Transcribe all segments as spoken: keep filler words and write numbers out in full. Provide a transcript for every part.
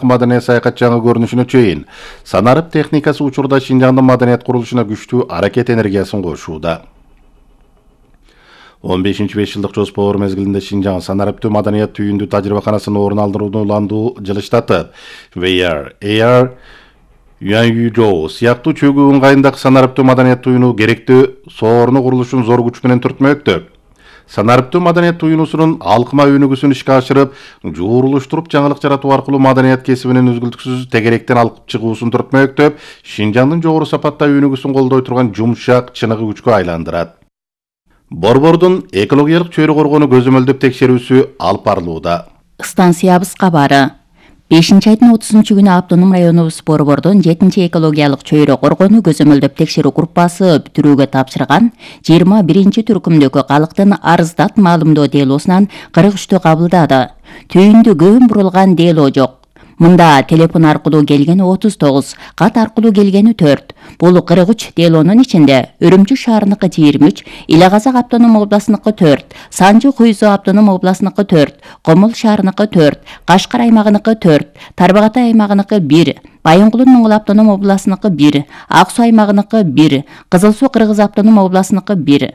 Маданият саякат жаңы көрүнүшүнө чейин санарып техникасы учурда Шинжаңдын маданият курулушуна күчтүү аракет энергиясын кошууда. он бешинчи беш жылдык жоспор мезгилинде Шинжаң санариптүү маданият түйүндүү тажрыйбаканасынын орун алдырууну уландуу жылыштатып, V R, A R, Юанюжоу сыяктуу чөгүү ыңгайындагы санариптүү маданият туюну керектүү соорунуу курулушун зор күч менен түртмөктө. Санариптүү маданият туюнусунун алкыма өнүгүүсүн ишке ашырып, жуурулуштуруп жаңылык жаратуу аркылуу маданият кесибинин үзгүлтүксүз тегеректен алып чыгуусун түртмөктөп, Шинжаңдын жогору сапатта өнүгүүсүн колдой турган жумшак, чыныгы күчкө айландырат. Борбордун экологиялык чөйрө коргонуу көзөмөлдөп текшерүүсү алып барылууда. Станциябыз кабары. бешинчи айдын отузунчу күнү автоном районубуз Борбордун жетинчи экологиялык чөйрө коргонуу көзөмөлдөп текшерүү группасы бүтүрүүгө тапшырган жыйырма биринчи түркүмдөгү калктын арыздат маалымдоо делосунан кырк үчтү кабылдады. Түйүндү көбүн бурулган дело жок. Мында телефон аркылуу келгени отуз тогуз, кат аркылуу келгени төрт. Бул кырк үч делонун ичинде Өрүмчү шаарыныкы жыйырма үч, Ила Казак автоном областыныкы төрт, Санжы Куйзу автоном областыныкы төрт, Комул шаарыныкы төрт, Кашкар аймагыныкы төрт, Тарбагатай аймагыныкы бир, Байынгулун Моңгол автоном областыныкы бир, Ак Суу аймагыныкы бир, Кызыл Суу Кыргыз автоном областыныкы бир.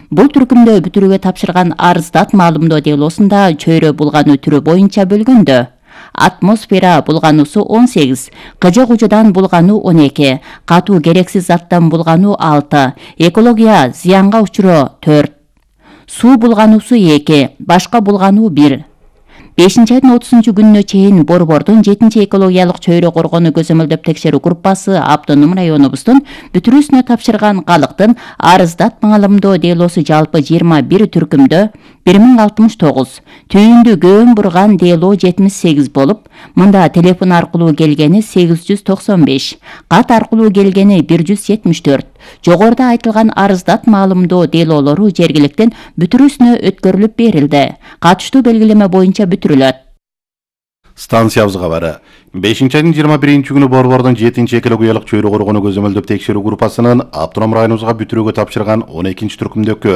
Бул түркүмдө бүтүрүүгө тапшырган арыздат маалымдоо делосунда чөйрө булгануу түрү боюнча бөлгөндө атмосфера булгануусу он сегиз, кыжы кужудан булгануу он эки, катуу керексиз заттан булгануу алты, экология зыянга учуроо төрт, суу булгануусу эки, башка булгануу бир. бешинчи айдын отузунчу күнүнө чейин Борбордун жетинчи экологиялык чөйрө коргонуу көзөмөлдөп текшерүү группасы автоном районубуздун бүтүрүүсүнө тапшырган калктын арыздат маалымдоо делосу жалпы жыйырма бир түркүмдө бир миң алтымыш тогуз, түйүндү көбүн бурган дело жетимиш сегиз болуп, мында телефон аркылуу келгени сегиз жүз токсон беш, кат аркылуу келгени бир жүз жетимиш төрт. Жогоруда айтылган арыздат маалымдоо делолору жергиликтен бүтүрүүсүнө өткөрүлүп берилди. Катыштуу белгилеме боюнча бүтүрүлөт. Станциябыз кабары. бешинчи айдын жыйырма биринчи күнү Борбордун жетинчи экологиялык чөйрө коргонуу көзөмөлдөп текшерүү группасынын автоном районубузга бүтүрүүгө тапшырган он экинчи түркүмдөгү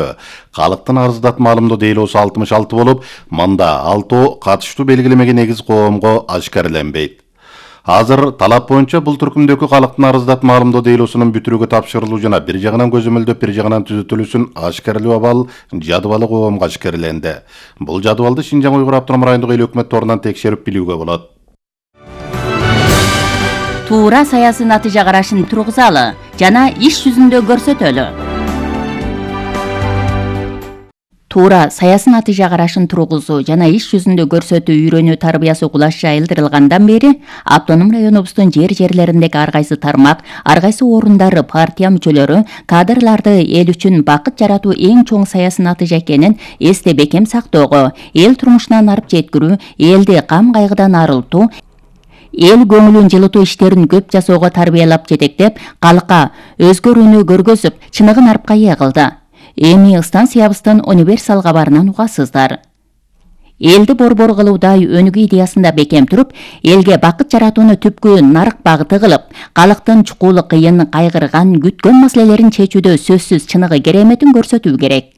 калктын арыздат маалымдоо делосу алтымыш алты болуп, мында алтоо катыштуу белгилемеге негиз коомго ашкареленбейт. Азыр талап боюнча бул түркүмдөгү калктын арыздат маалымдоо делосунун бүтүрүүгө тапшырылуу жана бир жагынан көзөмөлдөп, бир жагынан түзөтүлүүсүн ашкарелөө абал жадыбалы коомго ашкареленди. Бул жадыбалды Шинжаң Уйгур автоном райондук эл өкмөт торунан текшерип билүүгө болот. Туура саясий натыйжа карашын тургузалы жана иш жүзүндө көрсөтөлү. Туура саясий натыйжа карашын тургузуу жана иш жүзүндө көрсөтүү үйрөнүү тарбиясы кулаш жайылдырылгандан бери автоном районубуздун жер-жерлериндеги ар кайсы тармак, ар кайсы орундары, партия мүчөлөрү кадрларды эл үчүн бакыт жаратуу эң чоң саясий натыйжа экенин эсте бекем сактоого, эл турмушунан арып жеткирүү, элди кам кайгыдан арылтуу, эл көңүлүн жылытуу иштерин көп жасоого тарбиялап жетектеп, калкка өзгөрүүнү көргөзүп, чыныгын арпка ээ кылды. Эми станциябыздын универсал кабарынан угасыздар. Элди борбор кылуудай өнүгүү идеясында бекем туруп, элге бакыт жаратууну түпкү нарык багыты кылып, калктын чукулы кыйын, кайгырган, күткөн маселелерин чечүүдө сөзсүз чыныгы кереметин көрсөтүү керек.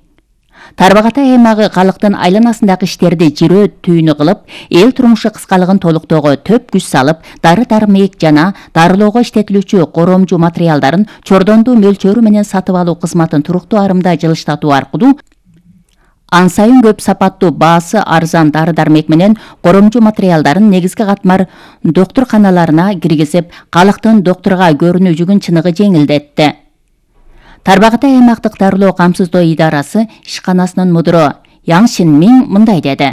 Тарбагатай аймагы калктын айланасындагы иштерди жирөө түйүнү кылып, эл турмушу кыскалыгын толуктоого төп күч салып, дары-дармек жана дарылоого иштетилүүчү коромжу материалдарын чордондуу мөлчөрү менен сатып алуу кызматын туруктуу арымда жылыштатуу аркылуу ан сайын көп сапаттуу, баасы арзан дары-дармек менен коромжу материалдарын негизги катмар доктурканаларына киргизип, калктын доктурга көрүнүү жүгүн чыныгы жеңилдетти. Тарбагатай аймактык дарылоо камсыздоо идарасы ишканасынын мудуру Яң Шинмин мындай деди.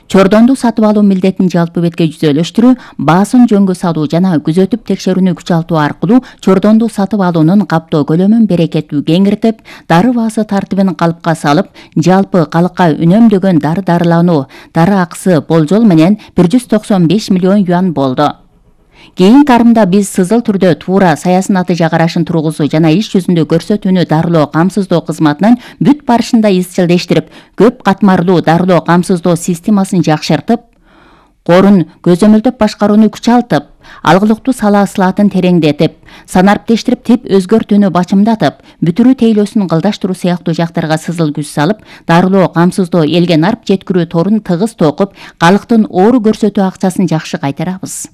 Чордонду сатып алуу милдетин жалпы бетке жүзөлөштүрүү, баасын жөнгө салуу жана күзөтүп текшерүүнү күчалтуу аркылуу чордонду сатып алуунун каптоо көлөмүн берекеттүү кеңиртип, дары баасы тартибин калыпка салып, жалпы калкка үнөмдөгөн дары дарылануу дары акысы болжол менен бир жүз токсон беш миллион юан болду. Кийинки арымда биз сызыл түрдө туура саясий натыйжа карашын тургузуу жана иш жүзүндө көрсөтүүнү дарылоо камсыздоо кызматынын бүт барышында изчилдештирип, көп катмарлуу дарылоо камсыздоо системасын жакшыртып, Корун көзөмөлдөп башкарууну күчалтып, алгылыктуу сала ысылатын тереңдетип, санариптештирип тип өзгөртүүнү бачымдатып, бүтүрүү тейлөөсүн кылдаштыруу сыяктуу жактарга сызыл күч салып, дарылоо, камсыздоо, элге нарп жеткирүү торун тыгыз токуп, калктын оору көрсөтүү акчасын жакшы кайтарабыз.